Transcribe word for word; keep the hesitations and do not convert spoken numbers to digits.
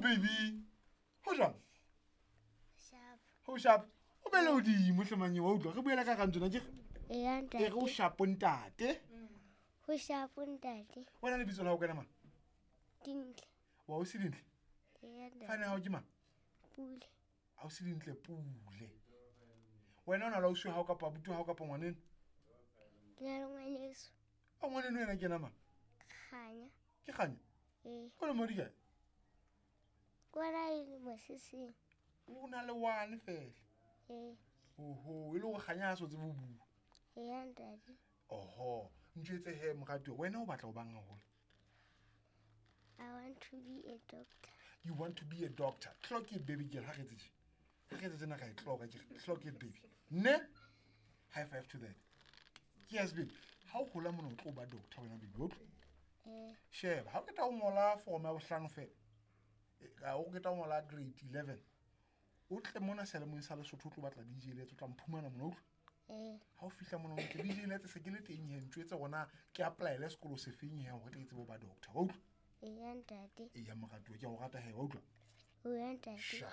baby. Ho jwang? Sharp. Ho sharp. O bele hodimo hle manye wa utlwa. Re buela ka kang tsona ke Eya e re o ntate. sharp ntate. Ho sharp ntate. Wena lebitso la hao ke wena mang? Dintle. Wa o se dintle. Eya ntate. Fane hao ke mang? Pule. Ha o se dintle pule. Wena o na le ausi wa hao kapa abuti wa hao kapa ngwaneno? Ke na le ngwaneso. A ngwaneno yena ke yena mang? Kganya. Ke Kganya. Ee. O lemo di kae? Ke bona e le moseseng. O na le one fela. Ee. Oho, e le hore Kganya ha so tsebe ho bua. Eya ntate. Oho, ntjwetse he moratuwa, wena o batla ho bang haholo? I want to be a doctor. You want to be a doctor. Clock it baby girl, ha re etse tje. Ha re etse tjena ka e clock ke re, clock it baby. Ne? High five to that. Yes baby. Ha o hola mona o tlo ba doctor wena baby, o utlwa? Ee. Sheba, ha o qeta ho ngola form ya bohlano fela. eh, Ha o qeta ho ngola grade eleven. O tle mona selemong sa Lesotho o tlo batla D J Letse, o tla mphumana mona, o utlwa? Ee. Ha o fihla mona o ntse D J Letse se ke le teng he, ntjwetse hore na ke apply-ele sekolo sefeng he hore ke tsebe ho ba doctor, wa utlwa? Eya ntate. Eya moratuwa, ke a o rata he, wa utlwa? Eya ntate. Sha.